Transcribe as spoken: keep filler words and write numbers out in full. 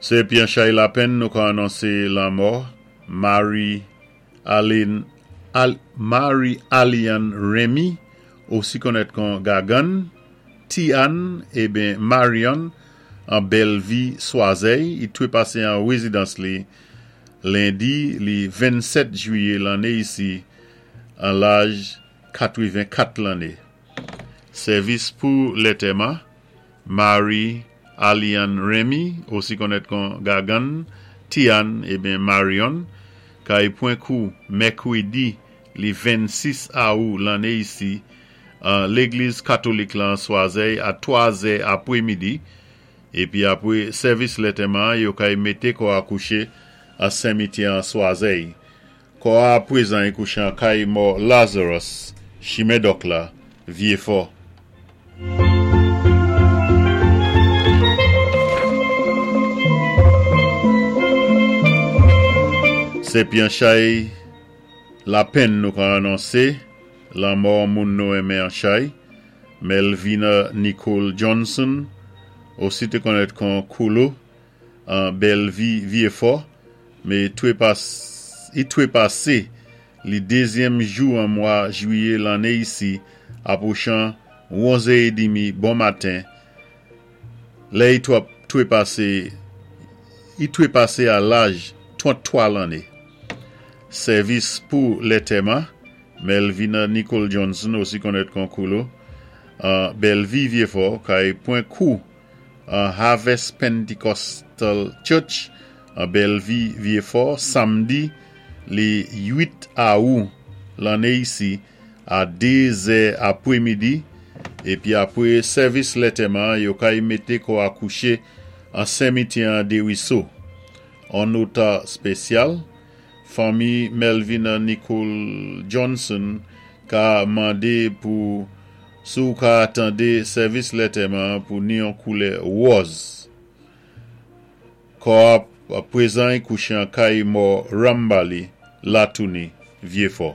Sé pi an chay lapenn nou ka anonsé lanmò Marie Aline Al, Marie Aliane Remy, osi konnèt kon Gagann, Ti-Anne, ébyen Marion, an Bèlvi Swazèy, i twé pasé an wézidans li lendi li vennsèt jwiyé lanné isi an laj katwenn-kat lanné. Sèvis pou lantèman, Marie Aliane Remy, osi konnèt kon Gagann, Ti-Anne, ébyen Marion, kay pwan kou mèkwédi li vennsis awou lanné isi an légliz katolik lan Swazèy a twa zè apwémidi, épi apwé sèvis lantèman yo kay mété kò a kouché an simityè an Swazèy. Kò a pwézan i kouché an kay mò Lazarus, chimen Dòk la, Vyéfò. Sé pi an chay lapenn nou ka anonsé lanmò moun nou enmen an chay, Melvina Nicole Johnson, osi té konnèt kon Koulo, an Bèlvi Vyéfò, mé twé pas, i twé pasé li dézyèm jou an mwa jwiyé lanné isi apwochan onzè édmi bon maten, lè i twé pasé i twé pasé a laj tranntwa lanné. Sèvis pou lantèman, Melvina Nicole Johnson, osi konnèt kon Koulo, an Bèlvi Vyéfò, kay pwan kou an Harvest Pentecostal Church, an Bèlvi Vyéfò, samdi li uit awou lanné isi a dé zè apwémidi, épi apwé sèvis lantèman, yo kay mété kò a kouché an simityè an Déwiso. An nota spésyal, fanmi Melvina Nicole Johnson ka mandé pou sou ka tandé sèvis lantèman pou ni an koulè wòz. Kò a pwézan i kouché an kay mò Rambali, Latouni, Vyéfò.